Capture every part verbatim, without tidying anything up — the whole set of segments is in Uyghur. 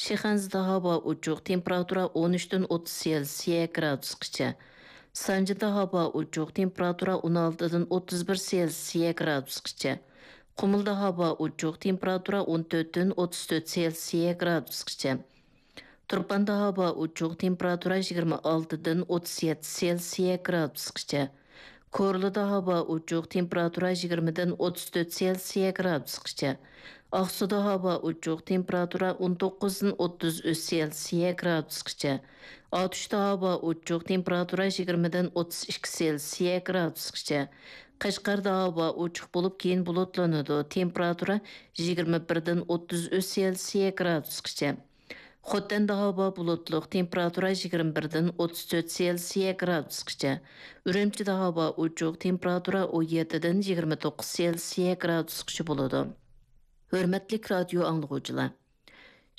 شىخەنزىدە ھاۋا ئوچۇق، تېمپېراتۇرا ئون ئۈچتىن ئوتتۇز سېلسىيە گرادۇسقىچە. سانجىدا ھاۋا ئوچۇق، تېمپېراتۇرا ئون ئالتىدىن ئوتتۇز بىر سېلسىيە گرادۇسقىچە. قۇمۇلدا ھاۋا ئوچۇق، تېمپېراتۇرا ئون تۆتتىن ئوتتۇز تۆت سېلسىيە گرادۇسقىچە. تۇرپاندا ھاۋا ئوچۇق، تېمپېراتۇرا يىگىرمە ئالتىدىن ئوتتۇز يەتتە سېلسىيە گرادۇسقىچە. كورلىدا ھاۋا ئوچۇق، تېمپېراتۇرا يىگىرمىدىن ئوتتۇز تۆت سېلسىيە گرادۇسقىچە. ئاقسۇدا ھاۋا ئوچۇق، تېمپېراتۇرا ئون توققۇزدىن ئوتتۇز ئۈچ سېلسىيە گرادۇسقىچە. ئاتۇشتا ھاۋا ئوچۇق، تېمپېراتۇرا يىگىرمىدىن ئوتتۇز ئىككى سېلسىيە گرادۇسقىچە. قەشقەردە ھاۋا ئوچۇق بولۇپ، كېيىن بۇلۇتلىنىدۇ، تېمپېراتۇرا يىگىرمە بىردىن ئوتتۇز ئۈچ سېلسىيە گرادۇسقىچە. خوتەندە ھاۋا بۇلۇتلۇق، تېمپېراتۇرا يىگىرمە بىردىن ئوتتۇز تۆت سېلسىيە گرادۇسقىچە. ئۈرۈمچىدە ھاۋا ئوچۇق، تېمپېراتۇرا ئون يەتتىدىن يىگىرمە توققۇز سېلسىيە گرادۇسقىچە بولىدۇ. ھۆرمەتلىك رادىيو ئاڭلىغۇچىلار!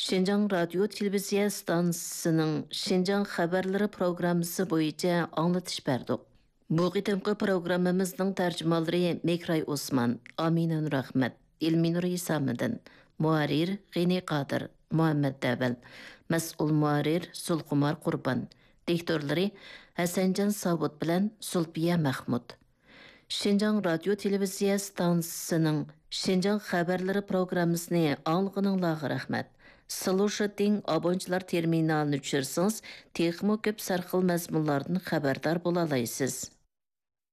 شىنجاڭ رادىيو تېلېۋىزىيە ئىستانسىسىنىڭ شىنجاڭ خەۋەرلىرى پروگراممىسى بويىچە ئاڭلىتىش بەردۇق. بۇ قېتىمقى پروگراممىمىزنىڭ تەرجىمانلىرى مېھراي ئوسمان، ئامىنە نۇرئەخمەت، ئىلمىنۇر ھېسامىدىن، مۇھەررىر غېنى قادىر، مۇھەممەت دەۋەل، مەسئۇل مۇھەررىر زۇلخۇمار قۇربان، دىكتورلىرى ھەسەنجان ساۋۇت بىلەن زۇلپىيە مەخمۇت. شىنجاڭ رادىيو تېلېۋىزىيە ئىستانسىسىنىڭ شىنجاڭ خەۋەرلىرى پروگراممىسىنى ئاڭلىغىنىڭلارغا رەھمەت. سلۇشىتىڭ ئابونچىلار تېرمىنالىنى چۈشۈرسىڭىز، تېخىمۇ كۆپ سەرخىل مەزمۇنلاردىن خەۋەردار بولالايسىز.